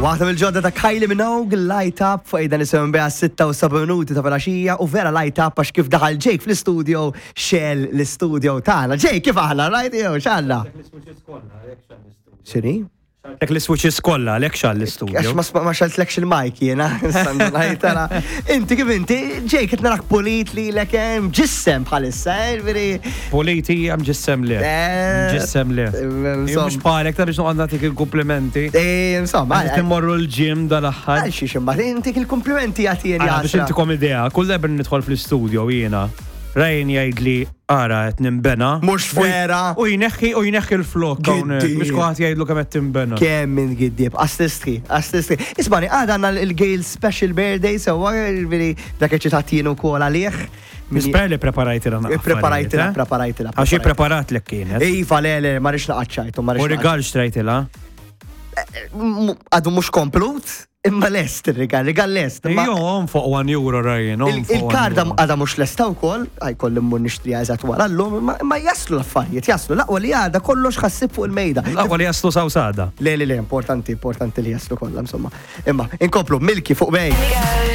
Waħda mill-ġodda ta' Kylie Minogue, Light Up, fuq dan is beha 6 u 7 minuti ta' filgħaxija u vera light up għax kif daħal Jake fl-istudio xel l-istudio tagħna. Jake, kif aħna, right? Jew x'għandna? X'inhi? Tek l-switches kollha għalhekk xal l-istudio. Għax ma xaltlekx il-mic jiena. Inti kif inti, Jake, qed narak pulit li lek hemm ġissem bħalissa, eh, veri. Pulit hija mġissem le. Eh, Ġissem le. Mhux bħalek ta' biex noqgħod nagħtik il-kumplimenti. Eh, insomma. Qed immorru l-ġim dal-aħħar. Għal xiex imbagħad intik il-kumplimenti jagħtieni. Biex intikom idea, kull darba nidħol fl-istudio jiena. Ryan jgħidli ara qed nimbena. Mhux vera. U jneħħi u jneħħi l-flok hawnhekk. Mhux kulħadd jgħidlu kemm qed timbena. Kemm minn giddieb, assistri, assistri. Ismani, għada għandna l-Gale Special Birthday, sewwa ġifieri dak eċitat jien ukoll għalih. Nispera li preparajtilha naqra. Preparajtilha, eh? preparajtilha. Għax preparat lek kienet. Iva, le, le, ma rridx naqgħod U rigal xtrajtilha? Eh, għadu mhux komplut, Imma lest ir-rigal, rigal lest. Jo, on fuq 1 euro Ryan. Il-karda għada mhux lesta wkoll, għaj kolli mmur nixtriha eżatt wara llum, imma jaslu l-affarijiet, jaslu. L-aqwa li għada kollox ħassib fuq il-mejda. L-aqwa li jaslu sawsada. Le, le, le, importanti, importanti li jaslu kollha, insomma. Imma, inkomplu, Milki fuq bej.